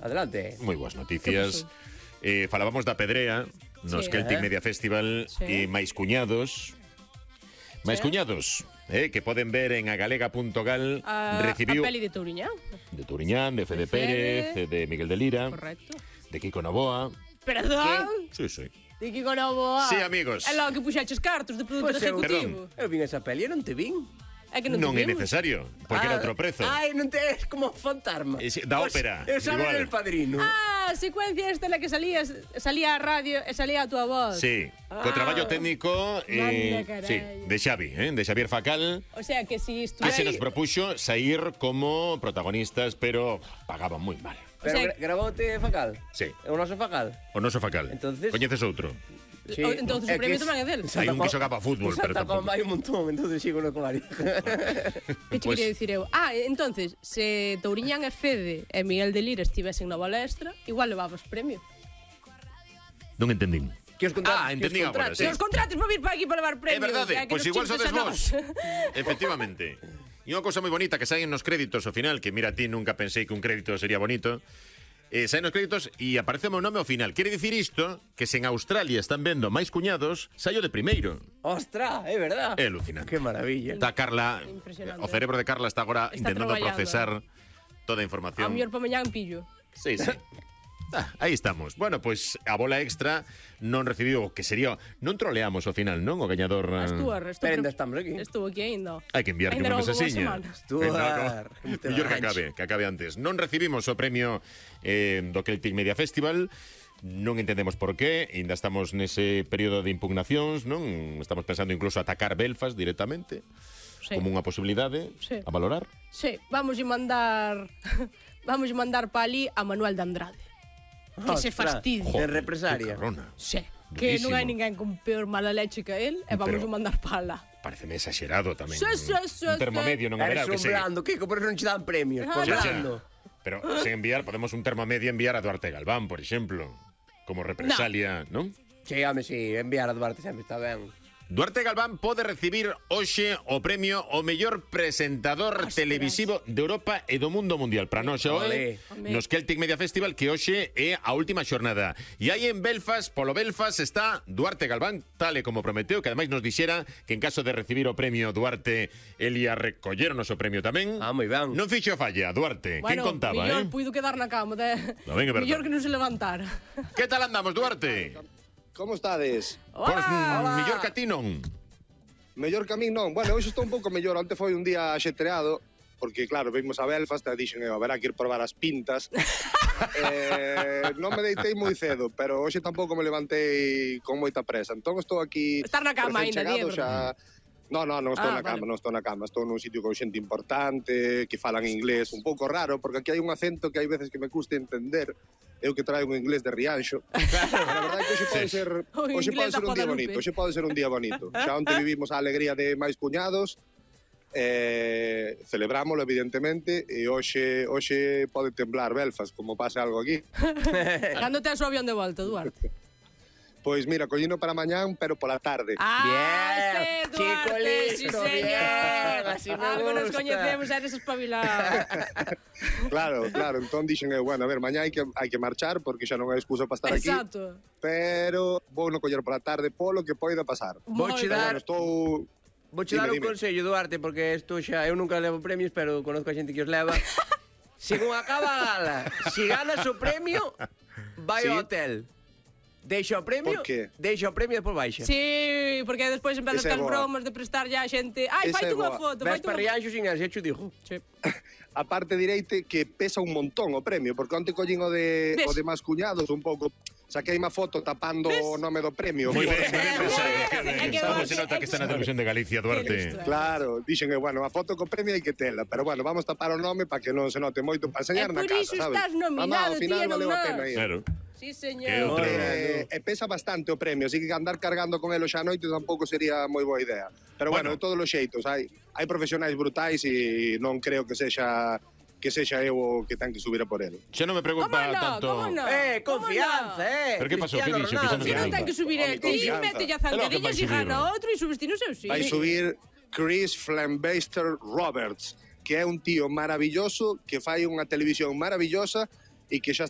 Adelante. Moi boas noticias. Falábamos da Pedrea nos Celtic Media Festival e máis cuñados. Máis cuñados, que poden ver en agalega.gal. Recibiu a peli de Touriñán. De Touriñán, de Fede Pérez, de Miguel de Lira. Correcto. De Kiko Novoa. Perdón? Sí, sí. De Kiko Novoa. Sí, amigos. É logo que puxaches cartos de produtor ejecutivo. Eu vin esa peli e non te vin. É que non Non é te vimos. necesario, porque era outro prezo. Ai, non te es como fantasma. Da ópera. Eu sabía igual. El Padrino. A secuencia esta na que salía a radio e salía a túa voz. Sí, co traballo técnico Manda carai. sí, de Xavi, de Xavier Facal. O sea que si Que se nos estuve propuxo sair como protagonistas, pero pagaban moi mal. Pero o sea, graboute Facal? Sí. O noso Facal? O noso Facal. Entonces- Coñeces outro? Sí. entonces o premio tamén é del. Hai un que xogaba fútbol, pero Santa tampouco. Comba hai un montón, entonces sigo no comario. Que che Pues- quería dicir eu? Entonces, se Touriñán e Fede e Miguel de Lira estivesen na balestra, igual levabas premio. Non entendín. Que os contratos? Entendín agora, sí. Se os contratos para vir para aquí para levar É premios. verdade, que pois nos igual chistes sodes a nós. vos. Efectivamente. E unha cousa moi bonita que saen nos créditos ao final, que mira, ti nunca pensei que un crédito sería bonito. Saen nos créditos e aparece o meu nome ao final. Quere dicir isto que se en Australia están vendo máis cuñados, saio de primeiro. Ostra, é verdad. É alucinante. Que maravilla. Está Carla, Impresionante. o cerebro de Carla está agora Está intentando traballando. procesar toda a A información. mellor para mañá en pillo. Sí, sí. Aí estamos. Bueno, pois a bola extra non recibiu o que sería... Non troleamos ao final, non? O gañador... Pero ainda estamos aquí. Estuvo aquí ainda. Hai que enviarlle Ainda unha non houbo mensaxiña. semana. Estuar. Mellor que acabe antes. Non recibimos o premio do Celtic Media Festival. Non entendemos por qué. Ainda estamos nese período de impugnacións, non? Estamos pensando incluso atacar Belfast directamente. Sí. Como unha posibilidade Sí. a valorar. Sí, vamos a mandar para ali a Manuel de Andrade. Que se fastidie. De represaria. Que cabrona. Sí. Que non hai Durísimo. ninguén con peor mala leche que él e vamos Pero- a mandar para lá. Pareceme exagerado tamén. Sí, sí, sí, un termo sí. medio non haberá, Eres que un sei. blando, Kiko, por eso non che dan premios. Por Ah, blando. Pero sen enviar, podemos un termo medio enviar a Duarte Galván, por exemplo, como represalia, non? Sí, home, sí, enviar a Duarte sempre está ben. Duarte Galván pode recibir hoxe o premio ao mellor presentador Ostras. televisivo de Europa e do mundo mundial. Para nós Olé. hoxe, nos Celtic Media Festival, que hoxe é a última xornada. E aí en Belfast, polo Belfast, está Duarte Galván, tal e como prometeu, que ademais nos dixera que en caso de recibir o premio Duarte, el ia recoller o noso premio tamén. Ah, moi ben. Non fixo falla, Duarte. Quen contaba, mellor puido quedar na cama. No, venga, verdad. Mellor que non se levantara. Que tal andamos, Duarte? Como estades? Pois mellor que a ti non. Mellor que a min non. Bueno, hoxe estou un pouco mellor. Onte foi un día axetreado, porque claro, vimos a Belfast e dixen, haberá que ir probar as pintas. Non me deitei moi cedo, pero hoxe tampouco me levantei con moita presa. Entón estou aquí Estar na cama recén aínda, chegado, Diego. Non estou na vale. cama, non estou na cama. Estou nun sitio con xente importante, que falan inglés, un pouco raro, porque aquí hai un acento que hai veces que me custa entender. Eu que traigo un inglés de Rianxo. Pero a verdade é que hoxe pode ser, O hoxe inglés pode da ser un día Guadalupe. bonito. Hoxe pode ser un día bonito. Xa onte vivimos a alegría de máis cuñados, celebrámoslo evidentemente, e hoxe pode temblar Belfast, como pase algo aquí. Cando tes o avión de volta, Duarte? Pois mira, collino para mañán, pero pola tarde. Bien, sí, chico Duarte, listo, sí, señor. bien, así me Algo nos gusta. coñecemos, eres espabilado. Claro, bueno, dixen eu, bueno, a ver, mañá hai que marchar, porque xa non hai excusa para estar aquí. Exacto. Pero vou no coller pola tarde polo que poida pasar. Vouche Moi dar- Bueno, estou... Vouche dar un Dime. consello, Duarte, porque isto xa... Eu nunca levo premios, pero conozco a xente que os leva. Según acaba a gala, si ganas o premio, vai Sí. ao hotel. Deixa o premio, Por qué? deixa o premio e despois baixa. Sí, porque despois empezan Esa é as boa. bromas de prestar ya a xente. Ai, Esa faite é unha boa. foto, Ves faite para unha Rianxo sin ansia, xo digo. Sí. A parte direite que pesa un montón o premio, porque onte collín o de máis cuñados un pouco... Saquei unha foto tapando o nome do premio. Moi ben, Por- moi ben pensado. É Que ben. que Como Duarte- se nota que está na televisión de Galicia, Duarte. Claro, dixen, bueno, a foto co premio hai que tela, pero bueno, vamos tapar o nome para que non se note moito, para enseñar E na por casa, iso sabes? estás nominado, Mamá, ao final ti e non valeu a nós. pena ir. Claro. Sí, Que señor. outro- E pesa bastante o premio, así que andar cargando con elo xa a noite tampouco sería moi boa idea. Pero bueno, Bueno. de todos os xeitos, hai profesionais brutais e non creo que sexa eu o que ten que subir a por ele. Xa non me Como preocupa no? tanto... Como no? Confianza, Pero que pasou? Cristiano Que dixo? Que xa non Ronaldo. Si non Confianza. ten que subir el Home, ti, confianza. mete ya É lo que vai zancadillas e subir. gana outro e subes ti no seu sí. Vai subir Chris Flambaster Roberts, que é un tío maravilloso, que fai unha televisión maravillosa e que xa está